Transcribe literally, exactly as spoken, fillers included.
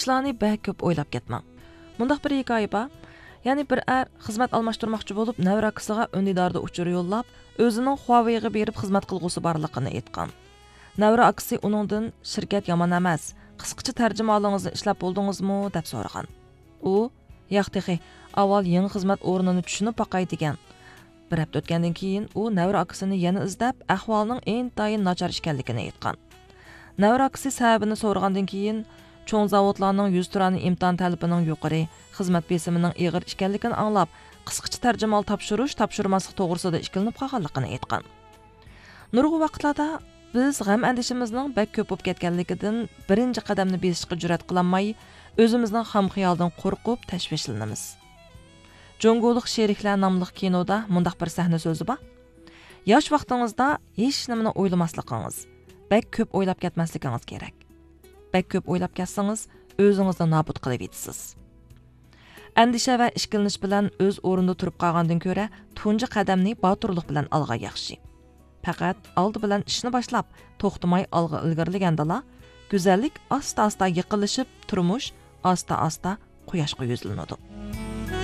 ئىشلارنى بەك كۆپ ئويلاپ كەتمەڭ. مۇنداق بىر ھېكايە بار. يەنى بىر ئەر خىزمەت ئالماشتۇرماقچى بولۇپ، نەۋرە ئاكىسىغا ئۈندىداردا ئۇچۇر يوللاپ، ئۆزىنىڭ خۇاۋېيغا بېرىپ خىزمەت قىلغۇسى بارلىقىنى ئېيتقان. نەۋرە ئاكىسى ئۇنىڭدىن، «شىركەت يامان ئەمەس، قىسقىچە تەرجىمىھالىڭىزنى ئىشلەپ بولدىڭىزمۇ؟» دەپ سورىغان. ئۇ، «ياق تېخى، ئاۋۋال يېڭى خىزمەت ئورنىنى چۈشىنىپ باقاي» دېگەن. بىر ھەپتە ئۆتكەندىن كېيىن ئۇ نەۋرە ئاكىسىنى يەنە ئىزدەپ، ئەھۋالنىڭ ئىنتايىن ناچار ئىكەنلىكىنى ئېيتقان. نەۋرە ئاكىسى سەۋەبىنى سورىغاندىن كېيىن، چوڭ زاۋۇتلارنىڭ يۈزتۇرانە ئىمتىھان تەلىپىنىڭ يۇقىرى، خىزمەت بېسىمىنىڭ ئېغىر ئىكەنلىكىنى ئاڭلاپ، قىسقىچە تەرجىمىھال تاپشۇرۇش، تاپشۇرماسلىق توغرىسىدا ئىككىلىنىپ قالغانلىقىنى ئېيتقان. نۇرغۇن ۋاقىتلاردا بىز غەم-ئەندىشىمىزنىڭ بەك كۆپ بولۇپ كەتكەنلىكىدىن بىرىنچى قەدەمنى بېسىشقا جۈرئەت قىلالماي، ئۆزىمىزنىڭ خام خىيالىدىن قورقۇپ تەشۋىشلىنىمىز. جۇڭگولۇق شېرىكلەر ناملىق كىنودا مۇنداق بىر سەھنە سۆزى بار. ياش ۋاقتىڭىزدا ھېچنېمىنى ئويلىماسلىقىڭىز، بەك كۆپ ئويلاپ كەتمەسلىكىڭىز كېرەك. بەك كۆپ ئويلاپ كەتسىڭىز، ئۆزىڭىزنى نابۇت قىلىۋېتىسىز. ئەندىشە ۋە ئىككىلىنىش بىلەن ئۆز ئورنىدا تۇرۇپ قالغاندىن كۆرە، تۇنجى قەدەمنى باتۇرلۇق بىلەن ئالغان ياخشى. پەقەت ئالدى بىلەن ئىشنى باشلاپ، توختىماي ئالغا ئىلگىرىلىگەندىلا، گۈزەللىك ئاستا-ئاستا يېقىنلىشىپ، تۇرمۇش ئاستا-ئاستا قۇياشقا يۈزلىنىدۇ.